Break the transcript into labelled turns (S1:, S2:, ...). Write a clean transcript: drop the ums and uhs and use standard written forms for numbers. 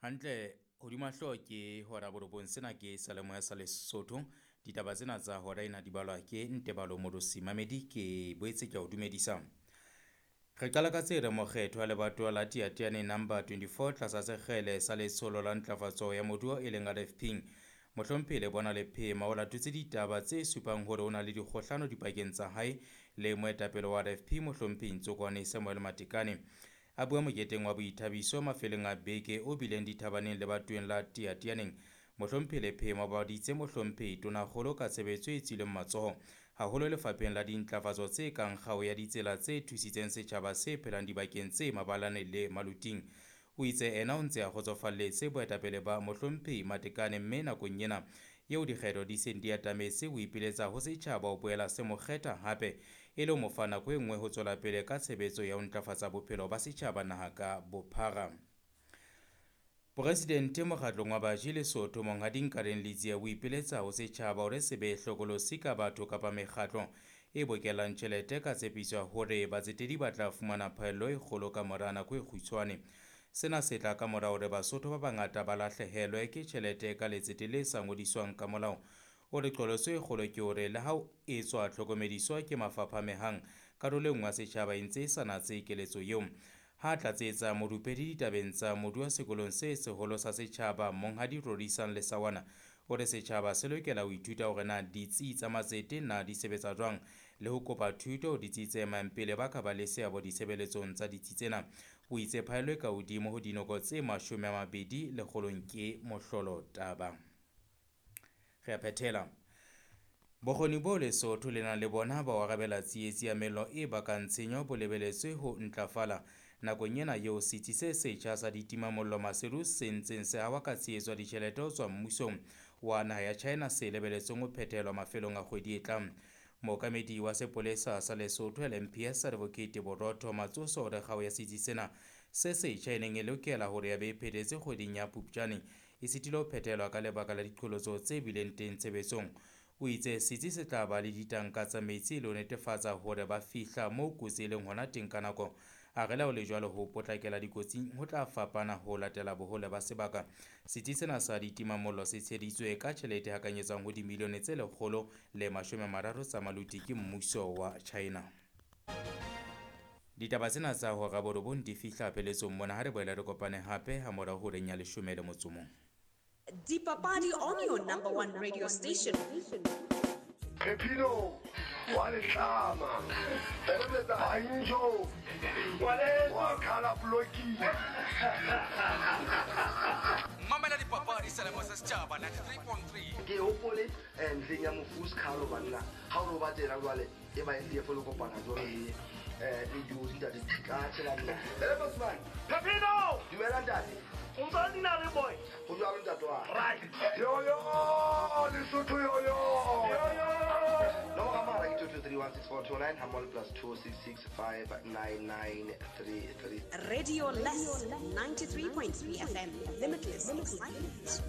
S1: Hantle hodima hlooho ke hora borobong, sena ke seyalemoya sa Lesotho. Ditaba tsena tsa hora ena di balwa ke Ntebalo Morosi Mamedi, ke boetse ke a o dumedisa. Re qala ka tse re mokgetho wa lebatowa la Teateane number 24 tlasa sekgele sa letsholo la ntlafatso ya moruo e leng RFP. Mohlomphehi Lebona Lephema o latotse ditaba tse supang hore o na le dikgohlano dipakeng tsa hae le moetapele wa RFP Mohlomphehi Ntsokwane Samuel Matekane. A bua moketeng wa boithabiso mafelong a beke o bileng dithabaneng lebatoweng la Teateaneng. Mohlomphehi Lephema o babaditse Mohlomphehi Tonakgolo ka tshebetso e tswileng matsoho haholo lefapheng la dintlafatso tse kang kgao ya ditsela tse thusitseng setjhaba se phelang dibakeng tse mabalane le maluting. O itse ena o ntse a kgotsofalletse boetapele ba Mohlomphehi Matekane mme nakong ena eo dikgetho di seng di atametse o ipiletsa ho setjhaba ho boela se mo kgetha hape e le ho mo fa nako e nngwe ho tswela pele ka tshebetso ya ho ntlafatsa bophelo ba setjhaba naha ka bophara. Poresidente mokgatlong wa baji Lesotho Monghadi Nkareng Letsie o ipiletsa ho setjhaba hore se be hlokolosi ka batho kapa mekgatlo e bokellang tjhelete ka tshepiso ya hore batsetedi ba tla fumana phaello e kgolo ka mora nako e kgutshwane. Sena se tla ka mora hore Basotho ba bangata ba lahlehelwe ke tjhelete ka letsete le sa ngodiswang ka molao. O re qholotso e kgolo ke hore le ha o etswa tlhokomediswa ke mafapha a mehang, karolo e nngwe ya setjhaba e ntse e sa natse keletso eo. Ha tlatsetsa morupedi ditabeng tsa moruo sekolong se seholo sa setjhaba Monghadi Rorisang Lesawana o re setjhaba se lokela ho ithuta hore na ditsi tsa matsete na di sebetsa jwang le ho kopa thuto ho ditsi tse emang pele ba ka ba le seabo ditshebeletsong tsa ditsi tsena. O itse phaello e ka hodimo ho dinoko tse 20 lekgolong ke mohlolo taba. Re a phethela. Bokgoni bo Lesotho le nang le bona ba ho arabela tsietsi ya mello e bakang tshenyo bo lebeletswe ho ntlafala nakong ena eo setsi se setjha sa ditimamollo Maseru se ntseng se hawa ka tshehetso ya ditjhelete ho tswa mmusong wa naha ya China se lebeletsweng ho phethelwa mafelong a kgwedi e tlang. Mookamedi wa sepolesa sa Lesotho LMPS Advocate Borotho Matsoso o re kgao ya setsi sena se setjha e neng e lokela hore ya be e phethetse kgweding ya Phupjane e sitile ho phethelwa ka lebaka la diqholotso tse bileng teng tshebetsong. O itse setsi se tla ba le ditanka tsa metsi le ho netefatsa hore ba fihla moo kotsi e leng hona teng ka nako. A re le ha ho le jwalo ho potlakela dikotsing ho tla fapana ho latela bohole ba sebaka. Setsi sena sa ditimamollo se tsheheditswe ka tjhelete e hakanyetswang ho dimilione tse 130 tsa maluti ke mmuso wa China. Ditaba tsena tsa hora borobong di fihla pheletsong mona, ha re boela re kopane hape ha morao horeng ya 11.
S2: Dipapadi on your number one radio station.
S3: Pepino wa letlama Banjo wa khala bloki.
S4: Mamela dipapadi selemo sa setjhaba 93.3.
S3: Ke hopole ntleng ya mofu Skhalo banna ha o ba tsela jwale e ba LDF le kopana jwalo le le dijo ntate ka tshela nna. Ele Bosman
S5: Pepino
S3: dumela ntate.
S5: O ntse dina le boy.
S3: Ho jwalo ntate wa.
S5: Right.
S3: Yo yo Lesotho yo yo.
S5: Yo yo.
S3: Nomoro ya mohala ke 2231642 hammoho le +266 59933.
S2: Radio Less 93.3 FM. Limitless excitement.